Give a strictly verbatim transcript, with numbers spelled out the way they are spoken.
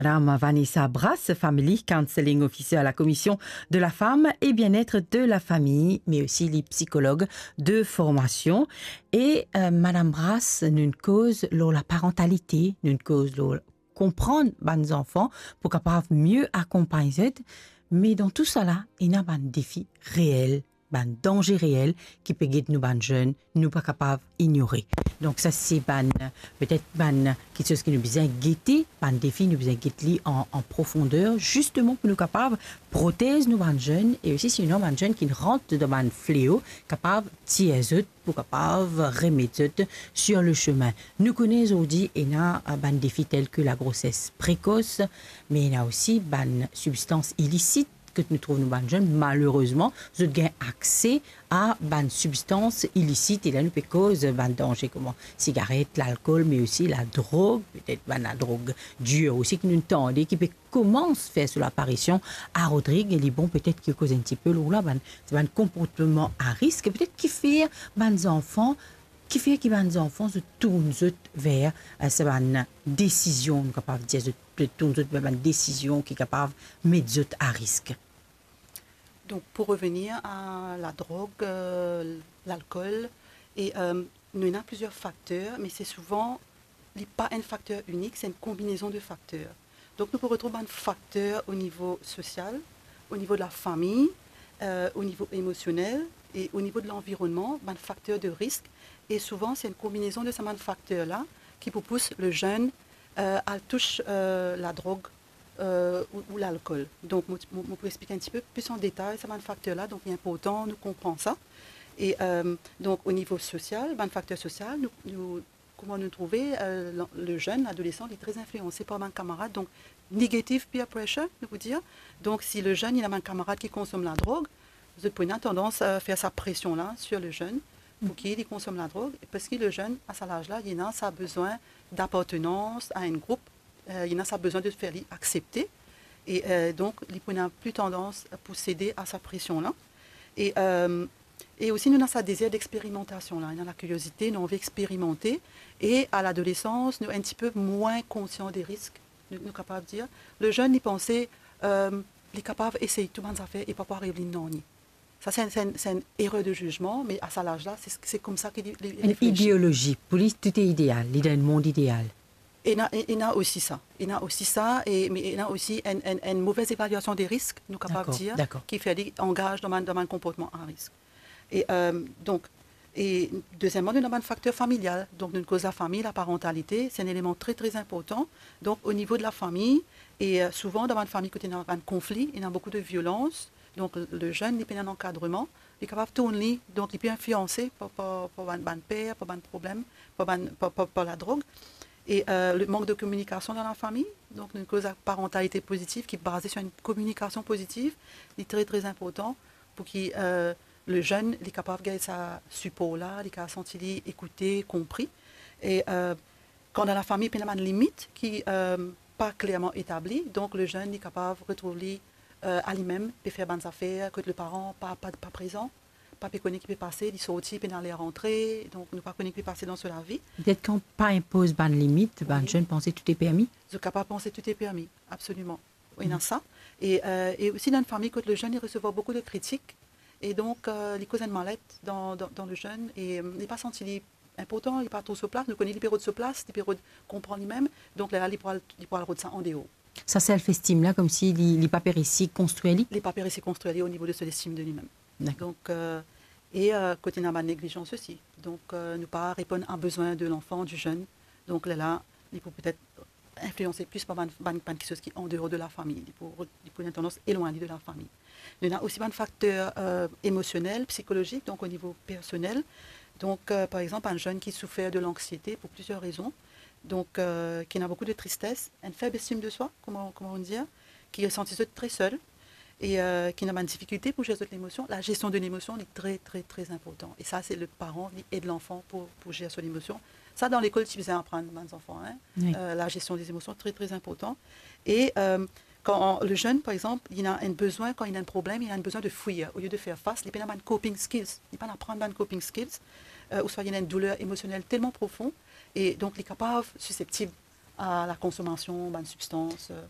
Madame Vanessa Brass, Family Counselling Officer à la Commission de la Femme et Bien-être de la Famille, mais aussi li psikolog de formation. E, euh, Madame Brass, nou koz lor laparantalite, nou koz lor konprann bann zanfan pou kapav mie akonpagn zot. Me dan tou sala, ena bann defi reel, bann danze reel ki pe get nou bann zenn, nou pa kapav inyore. Donk sa se bann, petet bann kiksoz ki nou bizin gete, bann defi nou bizin get li an, an profonder, zisteman pou nou kapav protez nou bann zenn, e osi sinon bann zenn ki rant dan bann fleo, kapav tir zot, pou kapav remet zot sur le chemin. Nou kone zordi ena, eh, bann defi tel ke lagroses prekos, me ena osi bann sibstans ilisit kot nou trouv nou bann zenn, malerezman, zot gagn akse a bann sibstans ilisit, e la nou pe koz bann danze kouma sigaret, lalkol, me osi ladrog, petet bann ladrog dir osi ki nou tande ki pe koumans fer so laparision a Rodrig, e li bon petet ki koz enn tipe lor la, bann, se bann konportman a risk, petet ki fer bann zanfan, ki fer ki bann zanfan zot tourn zot ver, eh, sa bann desizion, nou kapav dir zot tourn zot ver bann desizion ki kapav met zot a risk. Donk, pou revenir a ladrog, eh, lalkol, e, eh, nou ena plizier fakter, me se souvan, li pa enn fakter inik, se enn konbinezon de fakter. Donk, nou pou retrouv bann fakter o nivo sosial, o nivo de lafami, eh, o nivo emosionel e o nivo de lanvironnman, bann fakter de risk. E souvan, se enn konbinezon de sa bann fakter la ki pou pous le zenn, eh, al tous, eh, ladrog, eh, ou, ou lalkol. Donk, mo, mo, mo pou explik enn tipe plis an detay sa bann fakter la. Donk, li inportan nou konpran sa. E, eh, donk, o nivo sosial, bann fakter sosial, nou, nou, kouma nou trouve, eh, le, le zenn, ladolesan, li tre inflianse par bann kamarad. Donk, negative peer pressure, nou pou dir. Donk, si le zenn, li ena bann kamarad ki konsom ladrog, zot pou ena tandans, eh, fer sa presion la sur le zenn, pou ki li konsom ladrog, parski le zenn, a sa laz la, li ena sa bizin d'apartenans a enn group, eh, li ena sa bizin de fer li aksepte, e, eh, donk, li pou ena plis tandans pou sede a sa presion la. E, eh, e osi, nou ena sa dezir dexperimantasion la, nou ena lakiriozite, nou anvi experimante, e a ladolesans, nou enn tipe mwin konsian de risk, nou, nou kapav dir. Le zenn, li panse, eh, li kapav esey tou bann zafer e pa pou ariv li nanye. Sa, se enn, se enn, se enn erer de zizman, me a sa laz la, se, se koumsa ki li, li, li reflesi. Enn ideolozi. Pou li, tou ideal. Li dan enn mond ideal. Ena, e, ena osi sa. Ena osi sa, e, me ena osi enn, enn, enn move evalyasion de risk, nou kapav dir, dakor, ki fer li angaz dan bann, dan bann konportman a risk. E, eh, donk, e dezieman, nou ena bann fakter familial. Donk, nou koz lafami, laparantalite, se enn eleman tre, tre inportan. Donk, o nivo de lafami, e, eh, souvan, dan bann fami kot ena bann konfli, ena boukou de violans. Donk, le zenn, li pena ankadreman, li kapav tourn li, donk, li pe inflianse par, par, par bann, bann per, par bann problem, par bann, par, par, par ladrog. E, eh, le mank de kominikasion dan lafami, donk, nou koz laparantalite pozitiv ki baze sur enn kominikasion pozitiv, li tre, tre inportan pou ki, eh, le zenn, li kapav gagn sa sipor la, li kapav santi li ekoute, konpri. E, eh, kan dan lafami, pena bann limit ki, eh, pa klerman etabli, donk le zenn, li kapav retrouv li, eh, a limem, pe fer bann zafer kot le paran pa, pa, pa prezan, pa pe kone ki pe pase, li sorti, pena ler rantre, donk nou pa kone ki pe pase dan so lavi. Petet kan pa inpoz bann limit, bann zenn panse tou est permis. Zot kapav panse tou est permis, absoliman. Wi, ena sa. E, eh, e osi dan enn fami kot le zenn, li resevwar boukou de kritik. E donk, eh, li koz enn malet dan, dan, dan le zenn. E, eh, li pa santi li inportan, li pa trouv so plas. Nou kone li pe rod so plas, li pe rod konpran limem. Donk, lerla, li pou al, li pou al rod sa andeor. Sa self-esteem la, koumsi li, li pa pe resi konstrir li? Li pa pe resi konstrir li o nivo de so lestim de limem. Dakor. Donk, eh, e, eh, kot ena bann neglizans osi. Donk, eh, nou pa reponn a bezwin de lanfan, di zenn. Donk, lerla, li pou petet inflianse plis par bann, bann, bann kiksoz ki andeor de lafami. Li pou, li pou ena tandans elwagn li de lafami. Nou ena osi bann fakter, eh, emosionel, psikolozik, donk o nivo personel. Donk, eh, par exanp, bann zenn ki soufer de lanksiete pou plizier rezon. Donk, eh, ki ena boukou de tristes, enn feb estim de swa, kouma, kouma nou dir, ki santi zot tre sel, e, eh, ki ena bann difikilte pou zer zot lemosion. La gestion de lemosion, li tre, tre, tre inportan. E sa, se le paran, li ed lanfan pou, pou zer so lemosion. Sa, dan lekol, ti bizin aprann bann zanfan, hein. Wi. Eh, la gestion des émotions, tre, tre inportan. E, eh, kan le zenn, par exanp, li ena enn bezwin, kan li ena enn problem, li ena enn bezwin de fwir, olie de fer fas, li pena bann coping skills, li pa'nn aprann bann coping skills, eh, ouswa li ena enn douler emosionel telman profon, e donk li kapav siseptib a la konsomasion bann sibstans, eh,